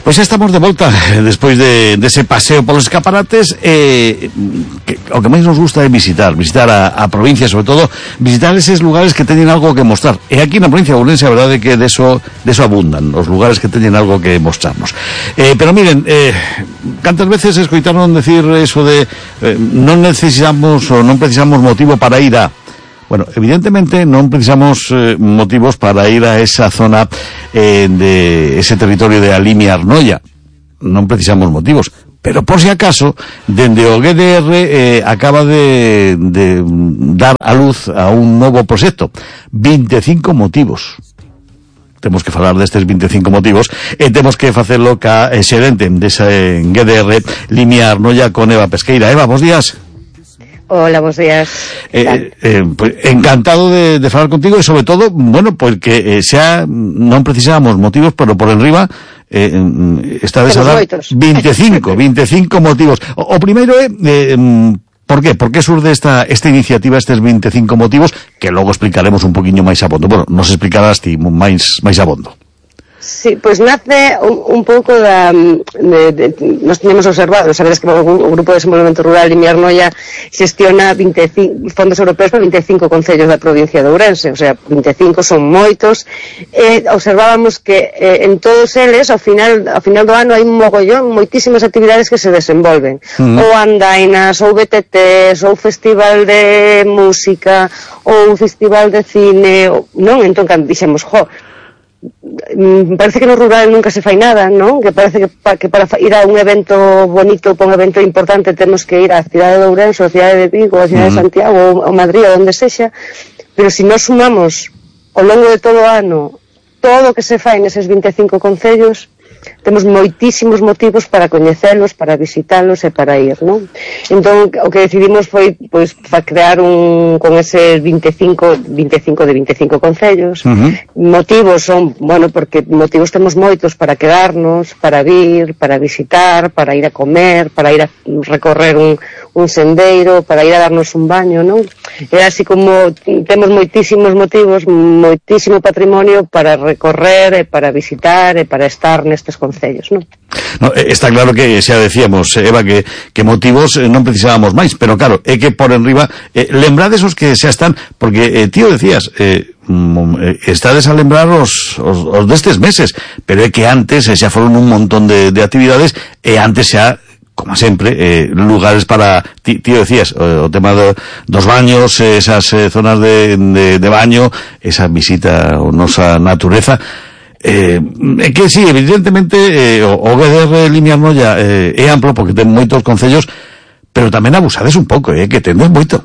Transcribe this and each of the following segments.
Pois xa estamos de volta despois de ese paseo polos escaparates. O que máis nos gusta é visitar a provincia, sobre todo visitar eses lugares que teñen algo que mostrar. E aquí na provincia de Ourense a verdade é que deso abundan os lugares que teñen algo que mostrarnos. Pero miren, cantas veces escoitaron decir eso de non necesitamos ou non precisamos motivo para ir a... Bueno, evidentemente non precisamos motivos para ir a esa zona de ese territorio de a Limia Arnoia. Non precisamos motivos. Pero por si acaso, dende o GDR acaba de dar a luz a un novo proxecto. 25 motivos. Temos que falar destes 25 motivos e temos que facelo ca xerente dese GDR Limia Arnoia, con Eva Pesqueira. Eva, bons días. Hola, buenos días. Pues, encantado de falar contigo e sobre todo, bueno, porque xa non precisábamos motivos, pero por enriba estades a dar 25 motivos. O primeiro é por qué? Por que surde esta iniciativa, estes 25 motivos, que logo explicaremos un poquinho máis a bondo. Bueno, nos explicarás ti máis a bondo. Sí, pues nace un pouco nos teníamos observado, sabes que o Grupo de Desenvolvemento Rural Limia Arnoia xestiona 25 fondos europeos para 25 concellos da provincia de Ourense, o sea, 25 son moitos. Observábamos que en todos eles, ao final do ano, hai un mogollón, moitísimas actividades que se desenvolven. Ou andainas, ou BTTs, ou festival de música, ou festival de cine, non? Entón, cando dixemos, parece que no rural nunca se fai nada, non? Que parece que para ir a un evento bonito, para un evento importante, temos que ir á cidade de Ourense, a cidade de Vigo, a cidade de Santiago, ou Madrid, ou onde sexa. Pero se nós sumamos ao longo de todo o ano todo o que se fai neses 25 concellos, temos moitísimos motivos para coñecelos, para visitalos e para ir, non? Entón, o que decidimos foi, pois, crear con ese 25 concellos. Motivos son, bueno, porque motivos temos moitos para quedarnos, para vir, para visitar, para ir a comer, para ir a recorrer un sendeiro, para ir a darnos un baño, non? É así como temos moitísimos motivos, moitísimo patrimonio para recorrer e para visitar e para estar nestes concellos, non? No, está claro que xa decíamos, Eva, que motivos non precisábamos máis, pero claro, é que por enriba lembrades os que xa están, porque tío decías, estades a lembrar os destes meses, pero é que antes xa foron un montón de actividades e antes xa, como sempre, lugares para, tío decías, o tema dos baños, esas zonas de baño, esa visita a nosa natureza. Que sí, evidentemente o GDR Limia Arnoia é amplo porque ten moitos concellos, pero tamén abusades un pouco, que tendes moito.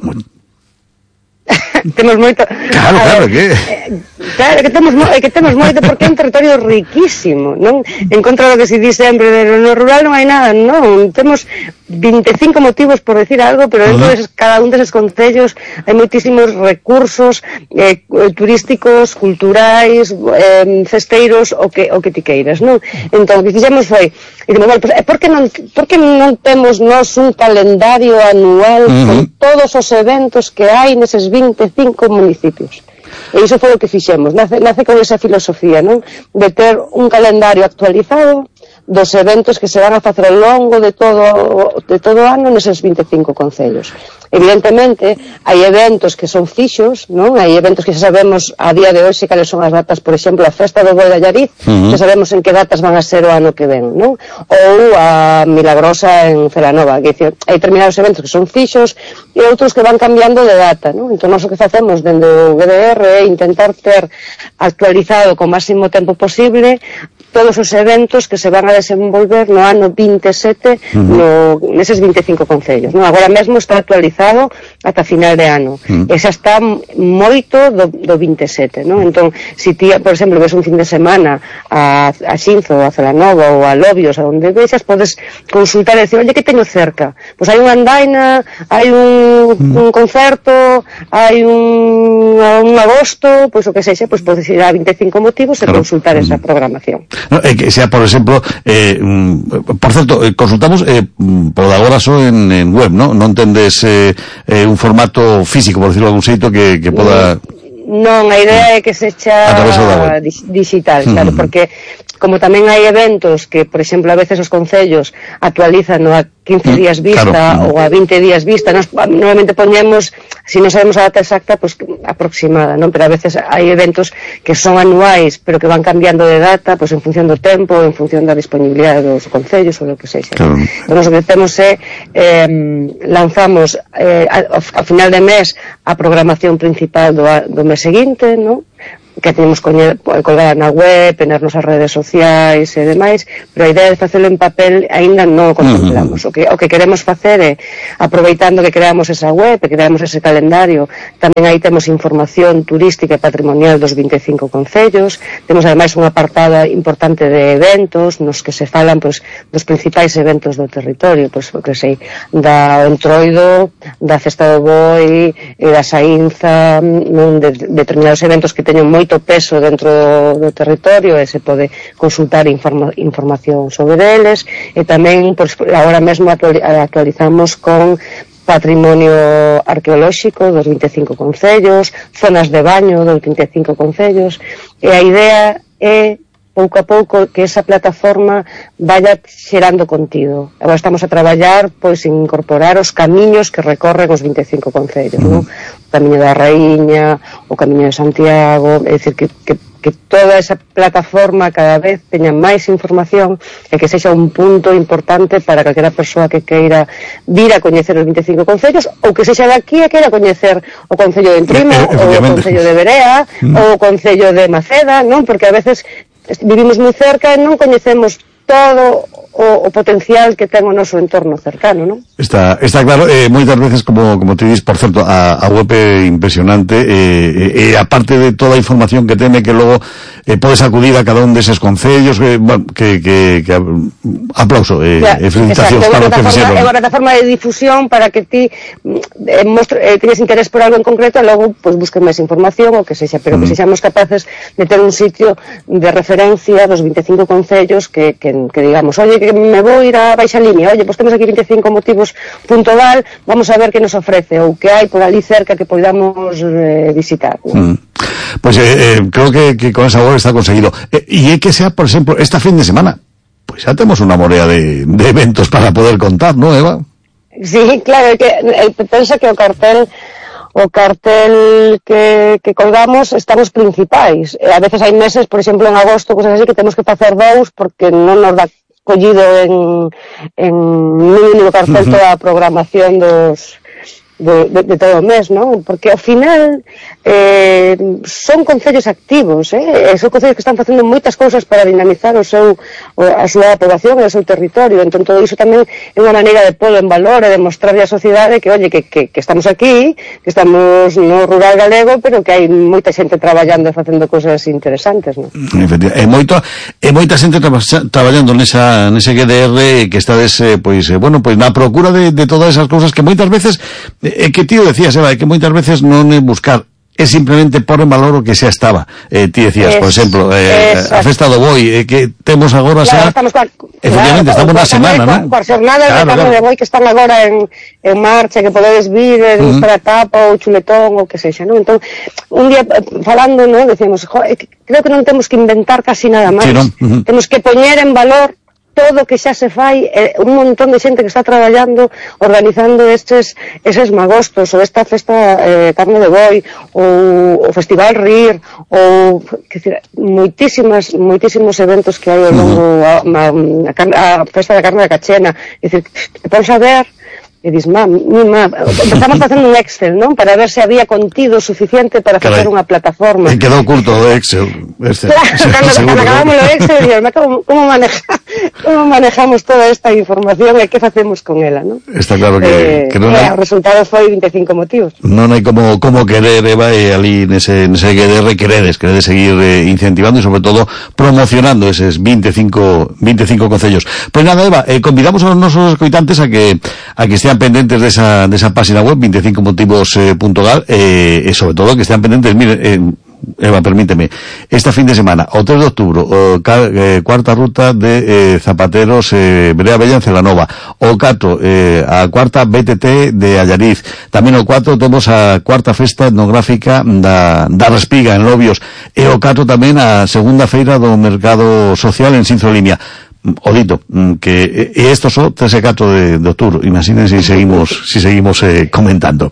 Temos moito. Claro, Claro, que temos moito porque é un territorio riquísimo, non? En contra do que se di sempre no rural non hai nada, non. Temos 25 motivos por decir algo, pero dentro de cada un deses concellos hai moitísimos recursos turísticos, culturais, festeiros, o que ti queiras, non? Entón, o que fixemos foi, por que non temos nós un calendario anual con todos os eventos que hai neses 25 municipios? E iso foi o que fixemos, nace con esa filosofía, non? De ter un calendario actualizado dos eventos que se van a facer ao longo de todo o ano neses 25 concellos. Evidentemente, hai eventos que son fixos, non? Hai eventos que xa sabemos a día de hoxe cales son as datas, por exemplo, a Festa do Boi de Allariz, xa sabemos en que datas van a ser o ano que ven, non? Ou a Milagrosa en Celanova, que dicir, hai determinados eventos que son fixos e outros que van cambiando de data, non? Entón, nós o que facemos dende o GDR é intentar ter actualizado co máximo tempo posible todos os eventos que se van a desenvolver no ano 27 neses 25 concellos, non? Agora mesmo está actualizado ata final de ano e xa está moito do 27, non? Entón, se ti, por exemplo, ves un fin de semana a Xinzo, a Celanova ou a Lobios, a onde vexas, podes consultar e decir, oye, que teño cerca? Pois hai unha andaina, hai un concerto, hai un agosto, pois o que sexa, pois podes ir a 25 motivos e consultar esa programación. No, que sea, por exemplo, por certo, consultamos por agora só en web, non? Non tendes un formato físico, por decirlo de algún xeito, que poda... Non, a idea é que se echa digital, claro, porque como tamén hai eventos que, por exemplo, a veces os concellos actualizan a 15 días vista ou a 20 días vista, nos normalmente poñemos, se non sabemos a data exacta, pues aproximada, non? Pero a veces hai eventos que son anuais, pero que van cambiando de data, pues en función do tempo, en función da disponibilidade dos concellos ou do que sexa. Entón, o que temos é lanzamos a final de mes a programación principal do mes seguinte, non? Que temos colgada na web, nas nosas redes sociais e demais, pero a idea de facelo en papel aínda non o contemplamos. O que queremos facer é, aproveitando que creamos esa web, que creamos ese calendario, tamén aí temos información turística e patrimonial dos 25 concellos, temos ademais un apartado importante de eventos, nos que se falan dos principais eventos do territorio, que sei, da Entroido, da Festa do Boi, e da Saínza, de determinados eventos que teñen moito peso dentro do territorio e se pode consultar información sobre eles, e tamén agora mesmo actualizamos con patrimonio arqueolóxico dos 25 concellos, zonas de baño dos 25 concellos, e a idea é pouco a pouco que esa plataforma vaya xerando contido. Agora estamos a traballar pois en incorporar os camiños que recorren os 25 concellos, non? O Camiño da Raíña, o Camiño de Santiago, é dicir que toda esa plataforma cada vez teña máis información e que sexa un punto importante para calquera persoa que queira vir a coñecer os 25 concellos ou que sexa daqui e queira coñecer o Concello de Entrimo ou o Concello de Berea ou o Concello de Maceda, non? Porque a veces vivimos moi cerca e non coñecemos todo o potencial que ten o noso entorno cercano, non? Está claro, moitas veces, como te dis, por certo, a web é impresionante, aparte de toda a información que teme, que logo podes acudir a cada un deses concellos, que aplauso, felicitacións para o que fixeron. É unha plataforma de difusión para que ti tenes interés por algo en concreto e logo pues, busques máis información ou que sexa, pero que sexamos capaces de ter un sitio de referencia dos 25 concellos que digamos, oye, que me vou ir a Baixa Limia, oye, pues temos aquí 25 motivos .gal, vamos a ver que nos ofrece ou que hai por ali cerca que podamos visitar, ¿no? Pues creo que con esa web está conseguido. Y é que sea, por exemplo, esta fin de semana, pues ya temos unha morea de eventos para poder contar, ¿no, Eva? Sí, claro, que pensa que o cartel que colgamos están os principais. A veces hai meses, por exemplo, en agosto, cosas así, que temos que facer dous porque non nos dá collido en un único cartel toda a programación de todo o mes, non? Porque ao final son concellos activos, son concellos que están facendo moitas cousas para dinamizar a súa población e o seu territorio, entón todo iso tamén é unha maneira de polo en valor e de mostrarle á sociedade que, oye, que estamos aquí, que estamos no rural galego, pero que hai moita xente traballando e facendo cousas interesantes, non? Efectivamente, moita xente traballando nese GDR que estades, pois na procura de todas esas cousas que moitas veces que tío decías, Eva, que moitas veces non é buscar, é simplemente pôr en valor o que xa estaba. Ti decías, por exemplo, a Festa do Boi, que temos agora xa... Efectivamente, estamos na semana, non? Coas xornadas de carne de boi que están agora en marcha, que podedes vir, para tapa ou chuletón ou que sexa, non? Entón, un día falando, non, decíamos, creo que non temos que inventar casi nada máis. Temos que poñer en valor todo que xa se fai, un montón de xente que está traballando, organizando eses magostos, ou esta festa carne de boi, ou o Festival Rir, ou moitísimos eventos que hai ao longo, a festa da carne da Cachena, é dicir, vamos a ver, e dis, empezamos facendo un Excel, non? Para ver se había contido suficiente para facer unha plataforma. E quedou curto o Excel. Cando acabamos o Excel, como manejamos toda esta información e que facemos con ela, non? Está claro que non hai... O resultado foi 25 motivos. Non hai como querer, Eva, e ali nese GDR queredes seguir incentivando e sobre todo promocionando eses 25 concellos. Pois nada, Eva, convidamos aos nosos escoitantes a que estean pendentes desa página web 25motivos.gal e sobre todo que estean pendentes, mire, Eva, permíteme, esta fin de semana, o 3 de outubro, cuarta ruta de zapateros Brea Bella en Celanova, o 4 a cuarta BTT de Allariz, tamén o 4 temos a cuarta festa etnográfica da Respiga en Lobios, e o 4 tamén a segunda feira do mercado social en Sinzo Limia. O dito, que estos son 3 e 4 de outubro. Imaginen si seguimos comentando.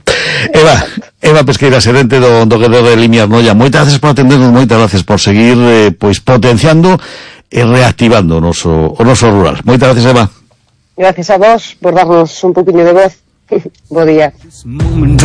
Eva Pesqueira, xerente do Guerrero de Limias Noia, moitas gracias por atendernos, moitas gracias por seguir pois potenciando e reactivando o noso rural. Moitas gracias, Eva. Gracias a vos por darnos un poquinho de voz. Bo día.